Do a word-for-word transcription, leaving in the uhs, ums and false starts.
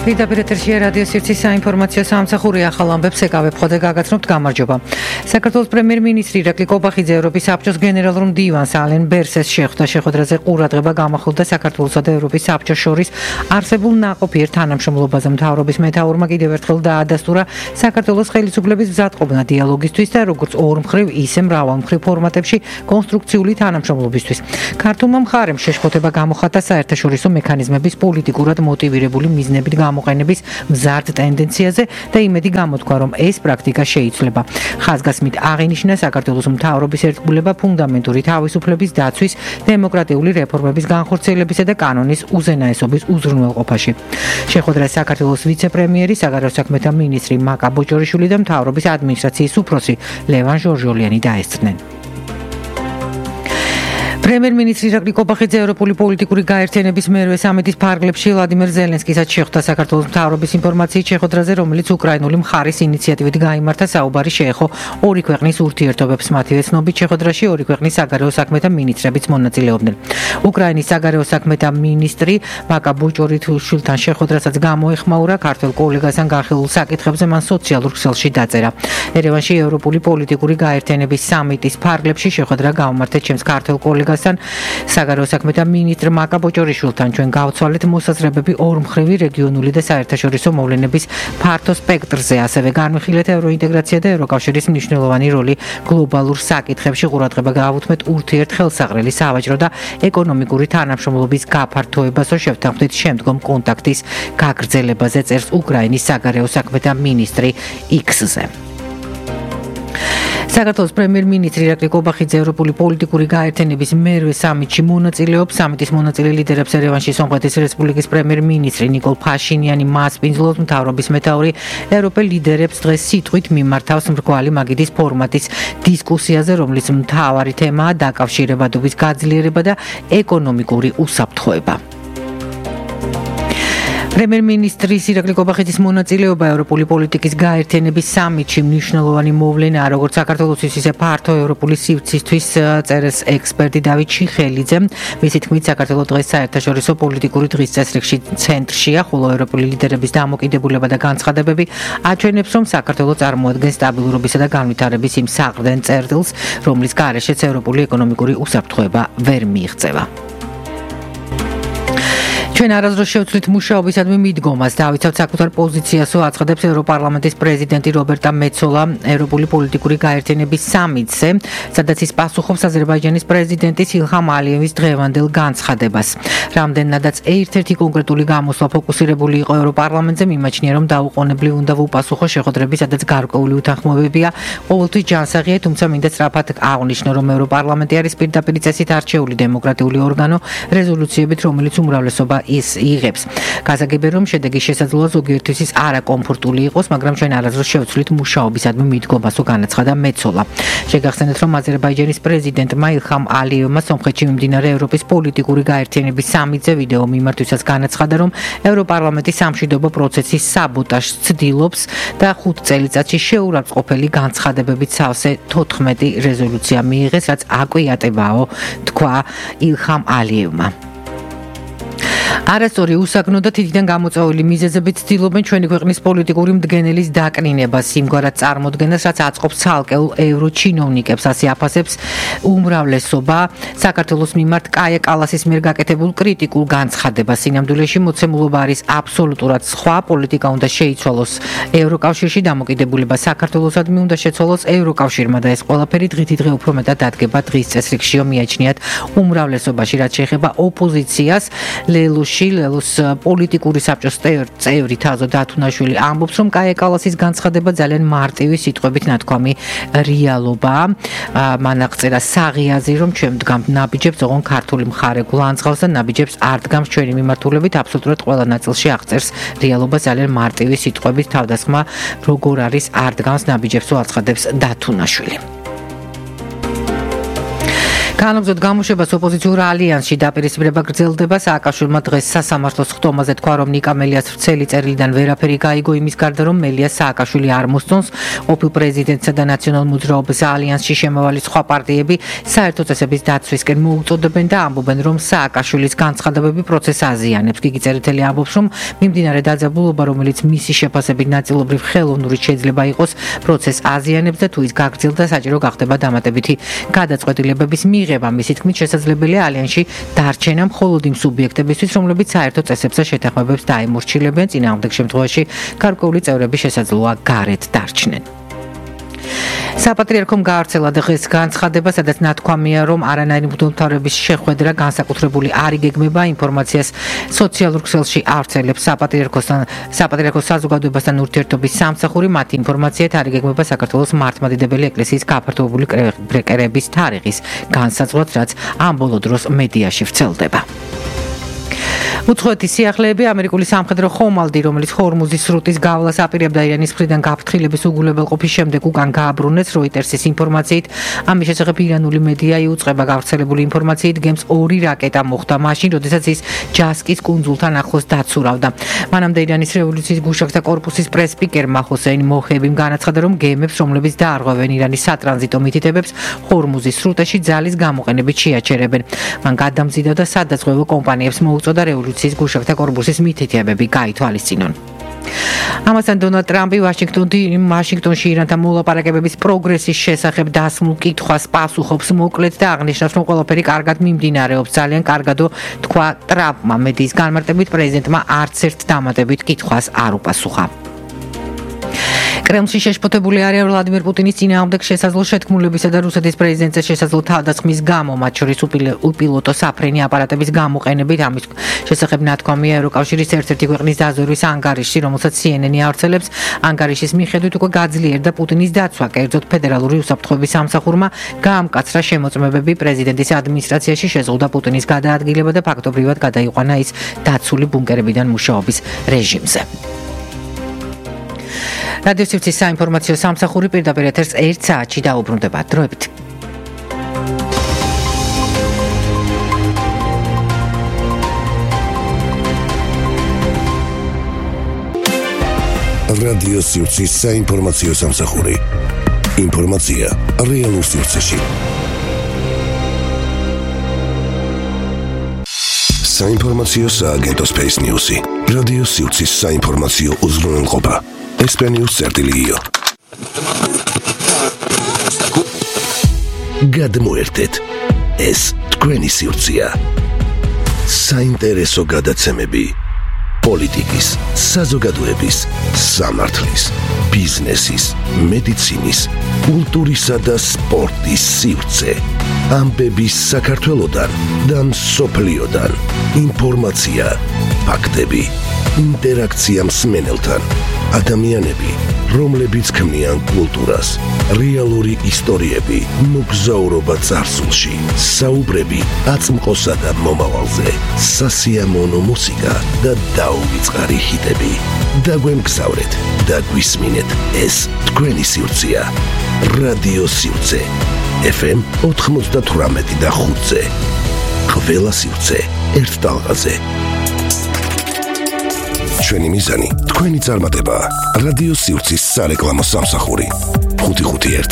პირდაპირ ეთერშია რადიო სივრცის საინფორმაციო სამსახური ახალ ამბებს ეკავებ ხოდა გაგაცნობთ გამარჯობა. საქართველოს პრემიერ-მინისტრი ირაკლი კობახიძე ევროპის საბჭოს გენერალურ მდივანს ალენ ბერსეს შეხვდა. შეხვედრაზე ყურადღება გამახვილდა საქართველოსა და ევროპის საბჭოს შორის არსებულ ნაყოფიერ თანამშრომლობაზე. მთავრობის მეთაურმა კიდევ ერთხელ დაადასტურა საქართველოს ხელისუფლების მზადყოფნა დიალოგისთვის და როგორც ორმხრივ, ისე მრავალმხრივ ფორმატებში კონსტრუქციული თანამშრომლობისთვის. ქართულმა მხარემ შეშფოთება გამოხატა საერთაშორისო მექანიზმების პოლიტიკურად მოტივირებული მიზნებით გამოყენების მზარდ ტენდენციაზე და იმედი გამოთქვა, რომ ეს პრაქტიკა შეიცვლება. ხაზგასმით აღინიშნა საქართველოს მთავრობის ერთგულება ფუნდამენტური თავისუფლების დაცვის, დემოკრატიული რეფორმების განხორციელებისა და კანონის უზენაესობის უზრუნველყოფაში. შეხვედრას საქართველოს ვიცე-პრემიერი, საგარეო საქმეთა მინისტრი მაკა ბოჭორიშვილი და მთავრობის ადმინისტრაციის უფროსი ლევან ჟორჟოლიანი დაესწრნენ. პრემიერ-მინისტრი ირაკლი კობახიძე ევროპული პოლიტიკური გაერთიანების მერვე სამიტის ფარგლებში ვლადიმერ ზელენსკისაც შეხვდა. საქართველოს მთავრობის ინფორმაციით შეხვედრაზე, რომელიც უკრაინული მხარის ინიციატივით გაიმართა, საუბარი შეეხო ორი ქვეყნის ურთიერთობებს. მათივე ცნობით, შეხვედრაში ორი ქვეყნის საგარეო საქმეთა მინისტრებიც მონაწილეობდნენ. უკრაინის საგარეო საქმეთა მინისტრი მაკა ბოჭორიშვილთან შეხვედრასაც გამოეხმაურა. ქართველ კოლეგასთან განხილულ საკითხებზე მან სოციალურ ქსელში დაწერა. ერევანში ევროპული პოლიტიკური გაერთიანების სამიტის ფარგლებში შეხვედრა გაუმართეთ ჩემს ქართველ კოლეგას საგარეო საქმეთა მინისტრ მაკა ბოჭორიშვილთან. ჩვენ გავცვალეთ მოსაზრებები ორმხრივი რეგიონული და საერთაშორისო მოვლენების ფართო სპექტრზე, ასევე განვიხილეთ ევროინტეგრაცია და ევროკავშირის მნიშვნელოვანი როლი გლობალურ საკითხებში. ყურადღება გაავუთმეთ ურთიერთხელსაღრელი სავაჭრო და ეკონომიკური თანამშრომლობის გაფართოებასო შევთანხმდით შემდგომ კონტაქტის გაგრძელებაზე, წერს უკრაინის საგარეო საქმეთა მინისტრი იქსზე. საქართველოს პრემიერ-მინისტრი ირაკლი კობახიძე ევროპული პოლიტიკური გაერთიანების მერვე სამიტში მონაწილეობს. სამიტის მონაწილე ლიდერებს ერევანში სომხეთის რესპუბლიკის პრემიერ-მინისტრი ნიკოლ ფაშინიანი მასპინძლობს. მთავრობის მეთაური ევროპელ ლიდერებს დღეს სიტყვით მიმართავს მრგვალი მაგიდის ფორმატის დისკუსიაზე, რომლის მთავარი თემაა დაკავშირებადობის გაძლიერება და ეკონომიკური უსაფრთხოება. პრემიერ-მინისტრის ირაკლი კობახიძის მონაწილეობა ევროპული პოლიტიკის გაერთიანების სამიტში მნიშვნელოვანი მოვლენაა, როგორც საქართველოსთვის, ისე ფართო ევროპული სივრცისთვის, წერს ექსპერტი დავით ჩიხელიძე. მისი თქმით, საქართველოს დღეს საერთაშორისო პოლიტიკური დღის წესრიგში ცენტრშია, ხოლო ევროპული ლიდერების დამოკიდებულება და განცხადებები აჩვენებს, რომ საქართველოს წარმოადგენს სტაბილურობისა და განვითარების იმ საყრდენ წერტილს, რომლის გარეშეც ევროპული ეკონომიკური უსაფრთხოება ვერ მიიღწევა. ჩვენ არასდროს შევცვლით მუშაობისადმი მიდგომას. დავიცავთ საკუთარ პოზიციასო, აცხადებს ევროპარლამენტის პრეზიდენტი რობერტა მეცოლა ევროპული პოლიტიკური გაერთიანების სამიტზე, სადაც ის პასუხობს აზერბაიჯანის პრეზიდენტის ილჰამ ალიევის დღევანდელ განცხადებას. რამდენადაც ერთ-ერთი კონკრეტული გამოსვლა ფოკუსირებული იყო ევროპარლამენტზე, მიმაჩნია, რომ დაუყოვნებლივ უნდა ვუპასუხო შეხვედრები, სადაც გარკვეული უთანხმოებებია ყოველთვის ჯანსაღია, თუმცა მინდა სწრაფად აღვნიშნო, რომ ევროპარლამენტი არის პირდაპირ წესით არჩეული დემოკრატიული ორგანო რეზოლუციებით, რომელიც უმრავლესობა ის იღებს. გასაგებია, რომ შედეგი შესაძლოა ზოგიერთისთვის არაკომფორტული იყოს, მაგრამ ჩვენ არასდროს შევცვლით მუშაობისადმი მიდგომასო, განაცხადა მეცოლა. შეგახსენეთ, რომ აზერბაიჯანის პრეზიდენტმა ილჰამ ალიევმა სომხეთში მიმდინარე ევროპის პოლიტიკური გაერთიანების სამიტზე ვიდეო მიმართვისას განაცხადა, რომ ევროპარლამენტი სამშვიდობო პროცესის საბოტაჟს ცდილობს და ხუთ წელიწადში შეურაცხყოფელი განცხადებებით სავსე თოთხმეტი რეზოლუცია მიიღეს, რაც აკვიატებაო, თქვა ილჰამ ალიევმა. არასწორი უსაგნო და თითიდან გამოწვეული მიზეზებით ცდილობენ ჩვენი ქვეყნის პოლიტიკური მდგენელის დაკნინებას, იმგვარად წარმოდგენას, რაც აწყობს ცალკეულ ევროჩინოვნიკებს, ასე აფასებს უმრავლესობა საქართველოს მიმართ კაია კალასის მიერ გაკეთებულ კრიტიკულ განცხადებას. სინამდვილეში მოცემულობა არის აბსოლუტურად სხვა, პოლიტიკა უნდა შეიცვალოს ევროკავშირში, დამოკიდებულება საქართველოსადმი უნდა შეცვალოს ევროკავშირმა და ეს ყველაფერი დღითი დღე უფრო მეტად დადგება დღის წესრიგშიო, მიაჩნიათ უმრავლესობაში. რაც შეეხება ოპოზიციას, ლელუში ლელოს პოლიტიკური საბჭოს წევრი თაზო დათუნაშვილი ამბობს, რომ კაია კალასის განცხადება ძალიან მარტივი სიტყვებით ნათქვამი რეალობაა. მან აღწერა საღიაზი, რომ ჩვენ ვდგამთ ნაბიჯებს, ოღონდ ქართული მხარე გულანძღავს და ნაბიჯებს არ დგამს ჩვენი მიმართულებით. აბსოლუტურად ყველა ნაწილში აღწერს რეალობა ძალიან მარტივი სიტყვებით. თავდასხმა როგორ არის არ დგამს ნაბიჯებსო, აცხადებს დათუნაშვილი. განაგრძოთ გამოშვებას ოპოზიციურ ალიანსში დაპირისპირება გრძელდება. სააკაშვილმა დღეს სასამართლოს ხტომაზე თქვა, რომ ნიკა მელიას ვრცელი წერილიდან ვერაფერი გაიგო იმის გარდა, რომ მელიას სააკაშვილი არ მოსწონს. ყოფილ პრეზიდენტსა და ნაციონალურ მოძრაობის ალიანსში შემავალი სხვა პარტიები საერთო წესების დაცვისკენ მოუწოდებენ და ამბობენ, რომ სააკაშვილის განცხადებები პროცესს აზიანებს. გიგი წერეთელი ამბობს, რომ მიმდინარე დაძაბულობა, რომელიც მისი შეფასებით ნაწილობრივ ხელოვნური შეიძლება იყოს, პროცესს აზიანებს და თუ ის გაგრძელდა, საჭირო გახდება დამატებითი გადაწყვეტილებების მიღება. მისი თქმით, შესაძლებელია ალიანსში დარჩენა მხოლოდ იმ სუბიექტებისთვის, რომლებიც საერთო წესებს და შეთანხმებებს დაემორჩილებენ. წინააღმდეგ შემთხვევაში გარკვეული წევრები შესაძლოა გარეთ დარჩნენ. საპატრიარქომ გაავრცელა დღეს განცხადება, სადაც ნათქვამია, რომ არანაირი მღვდელმთავრების შეხვედრა განსაკუთრებული არ იგეგმება, ინფორმაციას სოციალურ ქსელში ავრცელებს საპატრიარქოსთან საპატრიარქოს საზოგადოებასთან ურთიერთობის სამსახური. მათი ინფორმაციით არ იგეგმება საქართველოს მართლმადიდებელი ეკლესიის გაფართოებული კრებების თარიღის განსაზღვრად, რაც ამ ბოლო დროს მედიაში ვრცელდება. უცხოეთის სიახლეები ამერიკული სამხედრო ხომალდი, რომელიც ჰორმუზის სრუტის გავლას აპირებდა ირანის მხრიდან გაფრთხილების უგულებელყოფის შემდეგ უკან გააბრუნეს. როიტერსის ინფორმაციით, ამის შესახებ ირანული მედია იუწყება. გავრცელებული ინფორმაციით, გემს ორი რაკეტა მოხვდა მაშინ, როდესაც ის ჯასკის კუნძულთან ახლოს დაცურავდა. მანამდე ირანის რევოლუციის გუშაგთა კორპუსის პრესპიკერმა ჰოსეინ მოჰებიმ განაცხადა, რომ გემებს, რომლებიც დაარღვევენ ირანის სატრანზიტო მითითებებს, ჰორმუზის სრუტეში ძალის გამოყენებით შეაჩერებენ. მან გადამზიდა და სადაზღვევო კომპანიებს მოუწოდა რევოლუციის გუშაგთა კორპუსის მითითებები გაითვალისწინონ. ამასთან დონალდ ტრამპი ვაშინგტონში ირანთან მოლაპარაკებების პროგრესის შესახებ დასმულ კითხვას პასუხობს მოკლედ და აღნიშნავს, რომ ყველაფერი კარგად მიმდინარეობს. ძალიან კარგადო თქვა ტრამპმა. მედიის განმარტებით, პრეზიდენტმა არც ერთ დამატებით კითხვას არ უპასუხა. კრემლში შეშფოთებული არიან ვლადიმერ პუტინის წინააღმდეგ შესაძლო შეთქმულებისა და რუსეთის პრეზიდენტზე შესაძლო თავდასხმის გამო, მათ შორის უპილოტო საფრენი აპარატების გამოყენებით. ამის შესახებ ნათქვამია ევროკავშირის ერთ-ერთი ქვეყნის დაზვერვის ანგარიშში, რომელსაც სი ენ ენი ავრცელებს. ანგარიშის მიხედვით უკვე გაძლიერდა პუტინის დაცვა. კერძოდ, ფედერალური უსაფრთხოების სამსახურმა გაამკაცრა შემოწმებები პრეზიდენტის ადმინისტრაციაში, შეზღუდა პუტინის გადაადგილება და ფაქტობრივად გადაიყვანა ის დაცული ბუნკერებიდან მუშაობის რეჟიმზე. რადიო სივრცის საინფორმაციო სამსახური პირდაპირ ეთერს ერთ საათში დაუბრუნდება. დროებით. რადიო სივრცის საინფორმაციო სამსახური. ინფორმაცია რეალურ სივრცეში. საინფორმაციო სააგენტო Space News-ი. რადიო სივრცის საინფორმაციო უზრუნველყოფა. ესპანიუს წერტილიო. გადმოერთეთ. ეს თქვენი სივრცეა. საინტერესო გადაცემები. პოლიტიკის, საზოგადოების, სამართლის, ბიზნესის, მედიცინის, კულტურისა და სპორტის სივრცე. ამბები საქართველოდან და მსოფლიოდან. ინფორმაცია, ფაქტები, ინტერაქცია მსმენელთან. ადამიანები, რომლებიც ქმნიან კულტურას, რეალური ისტორიები, მოგზაურობა წარსულში, საუბრები აწმყოსა და მომავალზე, სასიამოვნო მუსიკა და დაუვიწყარი ჰიტები. დაგვემგზავრეთ და გვისმინეთ, ეს თქვენი სივრცეა. რადიო სივრცე ეფ ემ ოთხმოცდათვრამეტი და ხუთზე. ყველა სივრცე ერთ ტალღაზე. ჩვენი მიზანი თქვენი წარმატება. რადიო სივრცის სარეკლამო სამსახური. ხუთი ხუთი ერთი